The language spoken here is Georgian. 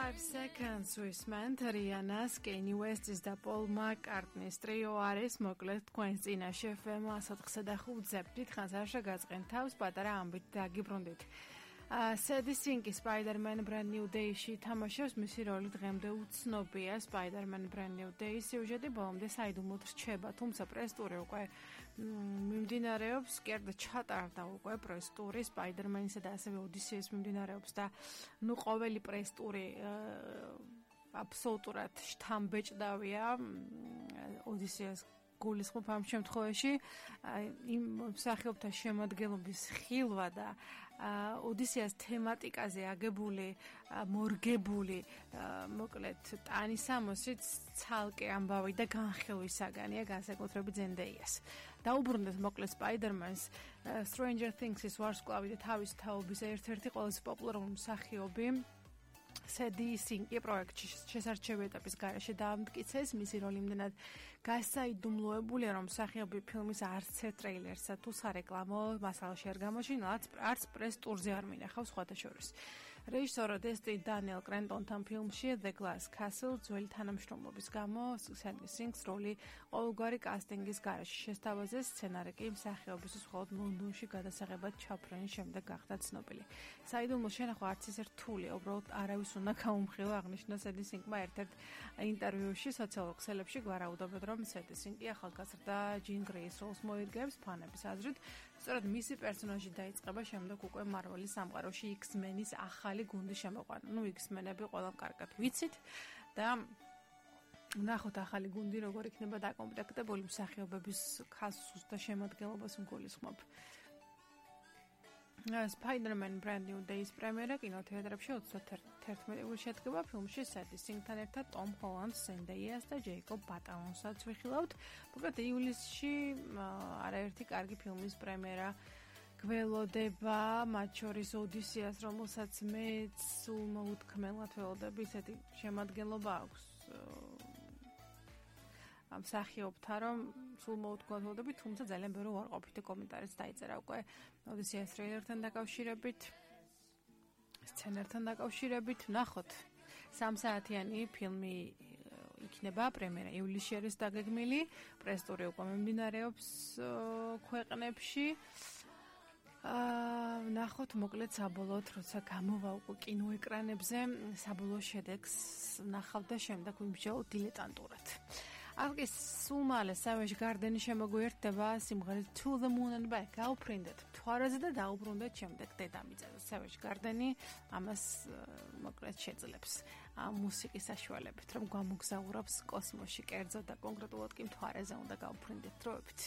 5 seconds ვისმენთ რიანას, კენი უესტის და პოლ მაკ-კარტნის ტრიო არის, მოკლედ თქვენს წინაშე FM 104.5-ზე. დიდხანს არ შეგაწყენ თავს, პატარა ამბით დაგიბრუნდით. Sedi Sink Spider-Man Brand New Day-ში თამაშობს, მისი როლი დღემდე უცნობია. Spider-Man Brand New Day სიუჟეტი ბოლომდე საიდუმლოდ რჩება, თუმცა პრესტური უკვე მიმდინარეობს, კერდა ჩატარდა უკვე პრესტური Spider-Man-ისა და ასევე ოდისეის მიმდინარეობს და ყოველი პრესტური აბსოლუტურად შთამბეჭდავია ოდისეას გულისხმობ ამ შემთხვევაში იმ მსახიობთა შემადგენლობის ხილვა და ოდისეას თემატიკაზე აგებული, მორგებული, მოკლედ ტანისამოსით ცალკე ამბავი და განხილვისაგანია, განსაკუთრებით ზენდეიას. დაუბრუნდეთ მოკლედ Spider-Man-ს, Stranger Things-ის ვარსკვლავი და თავის თაობის ერთ-ერთი ყველაზე პოპულარული მსახიობი Sedi Sink პროექტში შესარჩევი ეტაპის გარეშე დაამტკიცეს, მისი როლი იმდენად გასაიდუმლოებულია, რომ მსახიობი ფილმის არც ერთ ტრეილერსა თუ სარეკლამო მასალაში არ გამოჩინა, არც პრეს ტურზე არ მინახავს სხვათა შორის. რეჟისორ დესტინ დანიელ კრენტონთან ფილმში The Glass Castle ძველი თანამშრომლობის გამო Sedi Sinks როლი ყოველგვარი კასტინგის გარეშე შესთავაზეს, სცენარი კი მსახიობის მხოლოდ ლონდონში გადასაღებად ჩაფრენის შემდეგ გახდა ცნობილი. საიდუმლო შენახვა არც ისე რთულია, უბრალოდ არავის უნდა გაუმხილო, აღნიშნა Sedi Sinkმა ერთ-ერთ ინტერვიუში სოციალურ ქსელებში გვარაუდობენ, რომ Sedi Sinki ახალგაზრდა Jean Grey-ის როლს მოირგებს, ფანების აზრით, სწორედ მისი პერსონაჟი დაიწყება შემდეგ უკვე Marvel-ის სამყაროში X-Men-ის ახალი გუნდის შემოყვანა. X-Men-ები ყველამ კარგად ვიცით და ნახოთ ახალი გუნდი როგორ იქნება დაკომპლექტებული, მსახიობების ქასს და შემადგენლობას გულისხმობ. Spider-Man Brand New Day-ის პრემიერა კინოთეატრებში 31 ივლისში შედგება. ფილმში Sedi Sinkთან ერთად Tom Holland, Zendaya და Jacob Batalonსაც ვიხილავთ. მოკლედ ივლისში არაერთი კარგი ფილმის პრემიერა გველოდება, მათ შორის ოდისეას, რომელსაც მეც სულ მოუთქმელად ველოდები, ისეთი შემადგენლობა აქვს ამ მსახიობთა, რომ სულ მოუთქმელდები, თუმცა ძალიან ბევრი უარყოფითი კომენტარიც დაიწერა უკვე ოდისეას ტრეილერთან დაკავშირებით, სცენართან დაკავშირებით. ნახოთ, 3 საათიანი ფილმი იქნება, პრემიერა ივლისში არის დაგეგმილი, პრესტური უკვე მიმდინარეობს ქვეყნებში. ნახოთ მოკლედ საბოლოოდ, როცა გამოვა უკვე კინოეკრანებზე, საბოლოო შედეგს ნახავ და შემდეგ ვიმსჯელო დილეტანტურად. აღგეს სულ მალე Savage Garden-ი შემოგვიერთდება სიმღერით To the Moon and Back. გაუფრინდეთ მთვარეზე და დაუბრუნდეთ შემდეგ დედამიწაზე. Savage Garden-ი ამას მოკლედ შეძლებს ამ მუსიკის საშუალებით, რომ გამოგზაურობს კოსმოსში, კერძოდ და კონკრეტულად კი მთვარეზე უნდა გაუფრინდეთ დროებით.